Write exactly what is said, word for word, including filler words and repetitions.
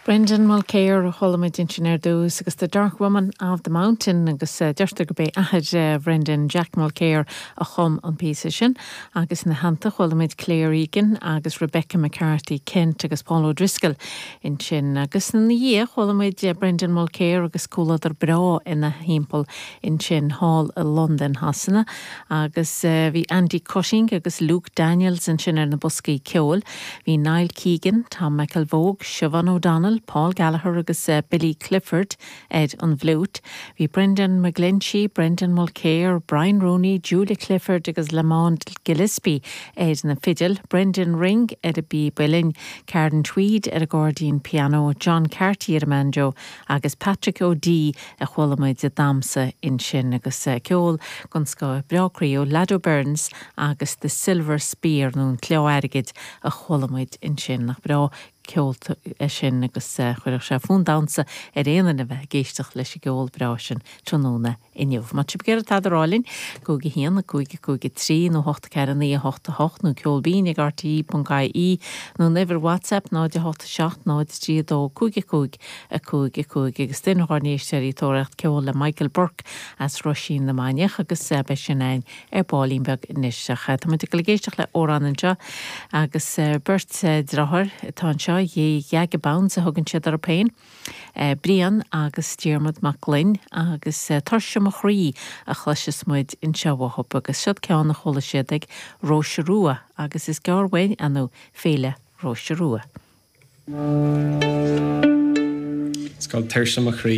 Brendan Mulkere a chuala muid ansin ar dtús agus the Dark Woman of the Mountain agus uh, deirtear gurb é athair uh, Brendan Jack Mulkere a chum an píosa sin agus ina theannta chuala muid Claire Egan agus Rebecca McCarthy Kent agus Paul O'Driscoll ansin agus ina dhiaidh chuala muid uh, Brendan Mulkere agus comhluadar breá ina thimpeall ansin thall i London Shasana agus uh, bhí Andy Cutting agus Luke Daniels ansin ar na boscaí ceoil, bhí Niall Keegan, Tom McElvogue, Siobhan O'Donnell, Paul Gallagher agus uh, Billy Clifford ar an bhfliúit. Bhí Brendan McGlinchey, Brendan Mulkere, Brian Rooney, Julia Clifford agus Lamont Gillespie ar na fidil, Brendan Ring ar an bpíb uilleann, Carden Tweed ar an gcairdín piano, John Carty ar an banjo agus Patrick O'Dea a chuala muid ag damhsa ansin agus uh, ceol den scoth breá croíúil Lado Burns agus the Silver Spear nó an claí airgid a chuala muid ansin nach breá ceol é sin agus uh, chuirfeadh sé fonn damhsa ar aon duine bheith ag éisteacht leis an gceol breá sin tráthnóna inniu. Má tá sibh tada rálinn cúig a haon a cúig cúig trí nó hocht ceathair naoi hocht hocht nó ceol binn ag RTÉ.ie nó uimhir WhatsApp náid hocht seacht náid trí dó cúig cúig a cúig cúig agus duine ár n-éisteoirí ag tóraíocht ceol le Michael Burke as Ruisín na Mainiach agus beidh sin ann ar baillín beag anois Tá muid ag éisteacht le amhrán anseo agus beirt deartháir atá anseo The Yagabounds a thugann siad orthu féin. Brian agus Diarmuid Mac Gloinn agus Tuirse mo chroí a chloisfidh muid anseo uathu agus seo ceann a chuala siad ag Róise Rua agus is gearr uainn an féile Róise Rua. It's called Tuirse mo chroí.